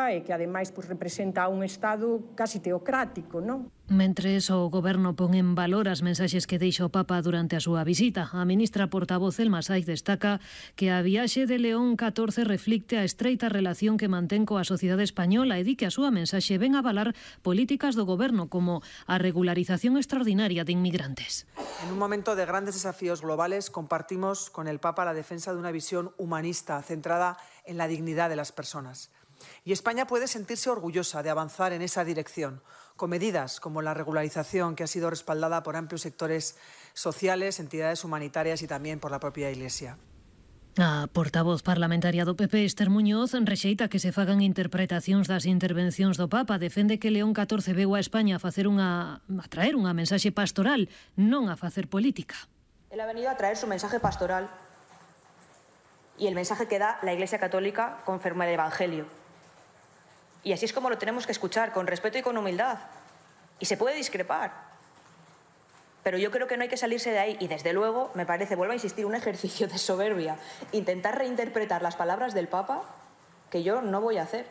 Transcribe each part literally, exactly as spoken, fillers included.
Católica e que ademais pues, representa un Estado casi teocrático, non? Mentres o Goberno pon en valor as mensaxes que deixa o Papa durante a súa visita, a ministra portavoz Elma Saiz destaca que a viaxe de León catorce reflicte a estreita relación que mantén coa sociedade española e di que a súa mensaxe ven a avalar políticas do Goberno como a regularización extraordinaria de inmigrantes. En un momento de grandes desafíos globales compartimos con el Papa la defensa de una visión humanista centrada en la dignidad de las personas. Y España puede sentirse orgullosa de avanzar en esa dirección, con medidas como la regularización, que ha sido respaldada por amplios sectores sociales, entidades humanitarias y también por la propia Iglesia. A portavoz parlamentaria do P P, Esther Muñoz, rexeita que se fagan interpretacións das intervencións do Papa. Defende que León catorce veu a España a facer unha a traer unha mensaxe pastoral, non a facer política. Él ha venido a traer su mensaje pastoral y el mensaje que da la Iglesia Católica conforme al Evangelio. Y así es como lo tenemos que escuchar, con respeto y con humildad. Y se puede discrepar. Pero yo creo que no hay que salirse de ahí. Y desde luego, me parece, vuelvo a insistir, un ejercicio de soberbia. Intentar reinterpretar las palabras del Papa, que yo no voy a hacer.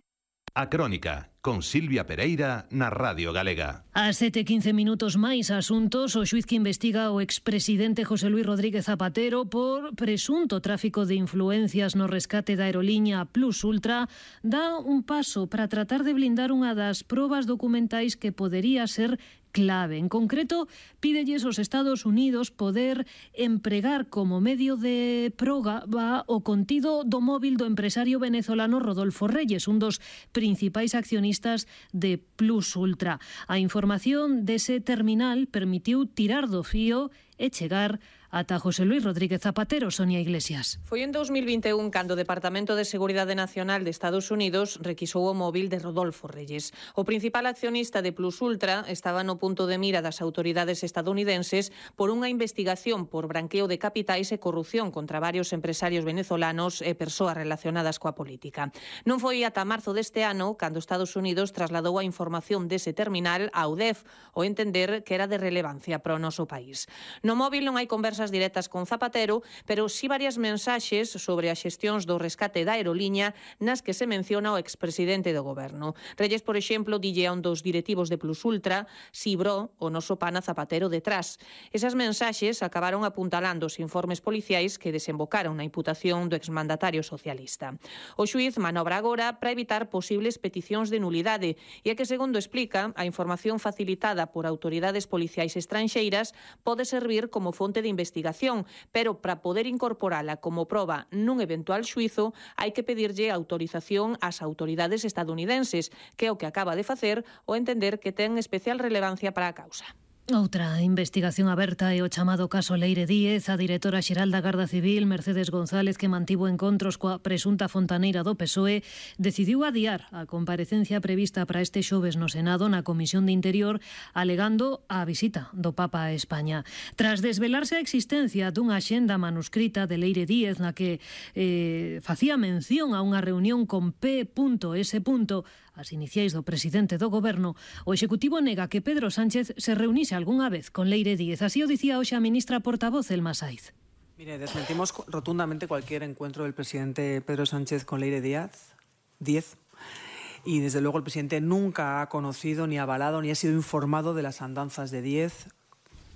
A Crónica, con Silvia Pereira, na Radio Galega. A sete e quince minutos máis asuntos, o xuiz que investiga o expresidente José Luis Rodríguez Zapatero por presunto tráfico de influencias no rescate da aeroliña Plus Ultra dá un paso para tratar de blindar unha das probas documentais que podería ser clave. En concreto, pídelles aos Estados Unidos poder empregar como medio de proba o contido do móvil do empresario venezolano Rodolfo Reyes, un dos principais accionistas de Plus Ultra. A información dese terminal permitiu tirar do fío e chegar ata José Luis Rodríguez Zapatero. Sonia Iglesias. Foi en dos mil vinte e un cando o Departamento de Seguridade Nacional de Estados Unidos requisou o móvil de Rodolfo Reyes. O principal accionista de Plus Ultra estaba no punto de mira das autoridades estadounidenses por unha investigación por branqueo de capitais e corrupción contra varios empresarios venezolanos e persoas relacionadas coa política. Non foi ata marzo deste ano cando Estados Unidos trasladou a información dese terminal á U D E F, o entender que era de relevancia para o noso país. No móvil non hai conversas directas con Zapatero, pero sí varias mensaxes sobre as xestións do rescate da aeroliña nas que se menciona o expresidente do goberno. Reyes, por exemplo, dille a un dos directivos de Plus Ultra si bro o noso pana Zapatero detrás. Esas mensaxes acabaron apuntalando os informes policiais que desembocaron na imputación do exmandatario socialista. O xuiz manobra agora para evitar posibles peticións de nulidade e é que, segundo explica, a información facilitada por autoridades policiais estranxeiras pode servir como fonte de investigación investigación, pero para poder incorporala como proba nun eventual xuizo hai que pedirlle autorización ás autoridades estadounidenses, que é o que acaba de facer o entender que ten especial relevancia para a causa. Outra investigación aberta é o chamado caso Leire Díez. A directora xeral da Garda Civil, Mercedes González, que mantivo encontros coa presunta fontaneira do P S O E, decidiu adiar a comparecencia prevista para este xoves no Senado na Comisión de Interior, alegando a visita do Papa a España. Tras desvelarse a existencia dunha axenda manuscrita de Leire Díez na que eh, facía mención a unha reunión con P S as iniciais do presidente do Goberno, o Executivo nega que Pedro Sánchez se reunise algunha vez con Leire Díez. Así o dicía hoxe a ministra portavoz Elma Saiz. Mire, desmentimos rotundamente cualquier encuentro del presidente Pedro Sánchez con Leire Díaz, Díez, y desde luego el presidente nunca ha conocido, ni avalado, ni ha sido informado de las andanzas de Díez,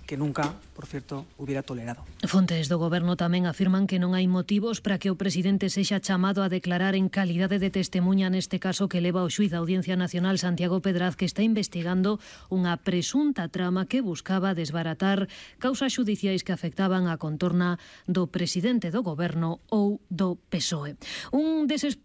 que nunca, por cierto, hubiera tolerado. Fontes do Goberno tamén afirman que non hai motivos para que o presidente sexa chamado a declarar en calidade de testemunha neste caso que leva o xuiz da Audiencia Nacional Santiago Pedraz, que está investigando unha presunta trama que buscaba desbaratar causas xudiciais que afectaban a contorna do presidente do Goberno ou do P S O E. Un deses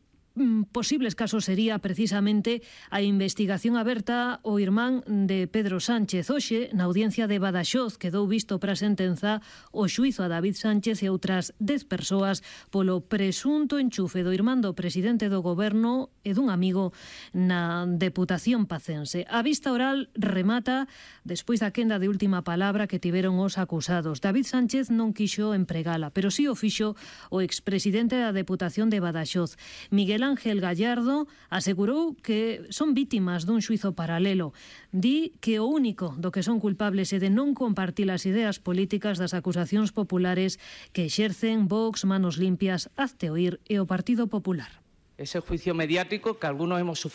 posibles casos sería precisamente a investigación aberta o irmán de Pedro Sánchez. Hoxe, na audiencia de Badaxoz, quedou visto para a sentenza o xuizo a David Sánchez e outras dez persoas polo presunto enchufe do irmán do presidente do Goberno e dun amigo na Deputación Pacense. A vista oral remata despois da quenda de última palabra que tiveron os acusados. David Sánchez non quixo empregala, pero si o fixo o expresidente da Deputación de Badaxoz. Miguel Ángel Gallardo asegurou que son vítimas dun xuizo paralelo. Di que o único do que son culpables é de non compartir as ideas políticas das acusacións populares que exercen Vox, Manos Limpias, Hazte Oír e o Partido Popular. Ese juicio mediático que algunos hemos sufrido